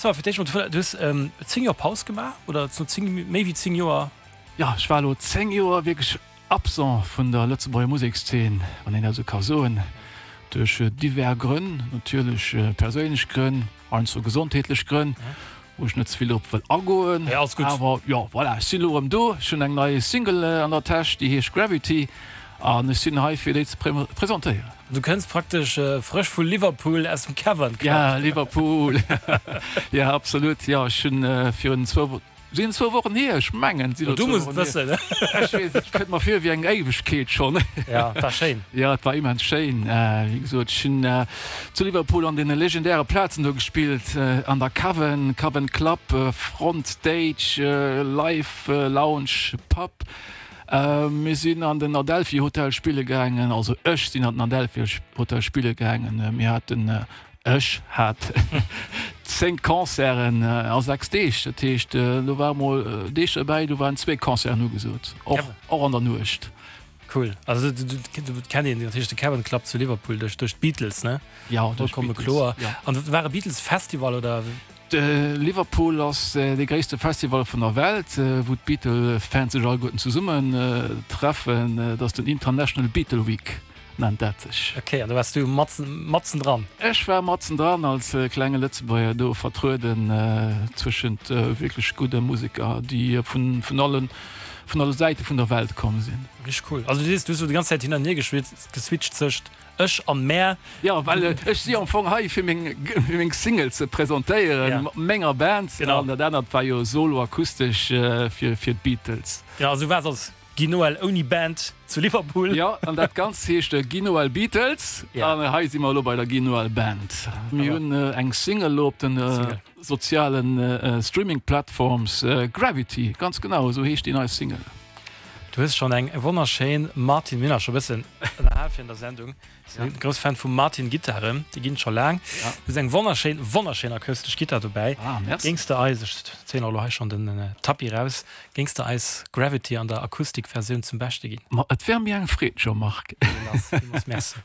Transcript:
So, fir d'éischt mol, du hues 10 Joer Paus gemaach, oder no 10, méi wéi 10 Joer? Jo, ech war elo 10 Joer wierklech absent vun der Lëtzebuerger Musekszeen, wann een dat esou ka soen, duerch divers Grënn, natierlech perséinlech Grënn, heiansdo gesondheetlech Grënn, wou ech net ze vill drop wëll agoen. Awer jo, voilà, ech sinn elo erëm do, ech hunn eng nei Single an der Täsch, déi heescht Gravity an ech sinn hei fir déi ze presentéieren. Du kënns praktesch frësch vu Liverpool aus dem Cavern Club. Ja, Liverpool. Ja, absolut. Jo, ech hunn virun zwou, sinn et zwou Wochen hier? Ech mengen, et sinn elo zwou Wochen hier. Du muss et wëssen. Ech weess, et kënnt mer vir wéi eng Éiwegkeet schonn. Ja, et war schéin. Ja, et war immens schéin. Wéi gesot, ech hunn zu Liverpool an deene legendäre Plazen do gespillt, an der Cavern, Cavern Club, Front Stage, Live Lounge, Pub. Mir sinn an den Adelphi Hotel spille gaangen, also ech sinn an den Adelphi Hotel spille gaangen. Mir haten, ech hat 10 Concerten a 6 Deeg. Dat heescht, do ware mol Deeg derbäi, do waren zwee Concerten ugesot, och, och an der Nuecht. Cool. Also et kennt een natierlech de Cavern Club zu Liverpool duerch d'Beatles, ne? Jo, duerch d'Beatles. Vollkomme kloer. An et war e Beatles-Festival, oder? Liverpool ass dee gréisste Festival vun der Welt, wou d'Beatle-Fans sech alleguerten zesummen treffen. Et ass den International Beatle Week nennt dat sech. Ok, an do waars du matzen dran? Ech war matzen dran als klenge Lëtzebuerger do vertrueden zwëschent wierklech gudde Museker, déi vun allen vun alle Säite vun der Welt komm sinn. Richteg cool. Also du sees, du hues elo déi ganz Zäit hin an hier geswitcht zwëscht Ech an mär. Jo, well ech si am Fong hei fir meng meng Single ze presentéieren mat menger Band. An dat anert war jo solo akustesch fir fir d'Beatles. Genau, also du waars als Guy Noel ouni Band zu Liverpool. Jo, an dat Ganzt heescht Guy Noel Beatles. An hei si mer elo bei der Guy Noel Band. Mir hunn eng Single elo op den sozialen Streaming Platforms, Gravity, ganz genau esou heescht déi nei Single. Du hues schonn eng wonnerschéin Martin, mir hunn eis scho bëssen ënnerhal virun der Sendung, sinn grouss Fan vu Martin Gittaren, déi ginn et scho laang. Du hues eng wonnerschéin, wonnerschéin akustesch Gittar dobäi. Géings de eis, ech zéien och elo hei schonn den Tapis raus, géings de eis Gravity an der Akustikversioun zum Beschte ginn? Ma et wär mir eng Freed, Jean-Marc. Villmools, villmools Merci.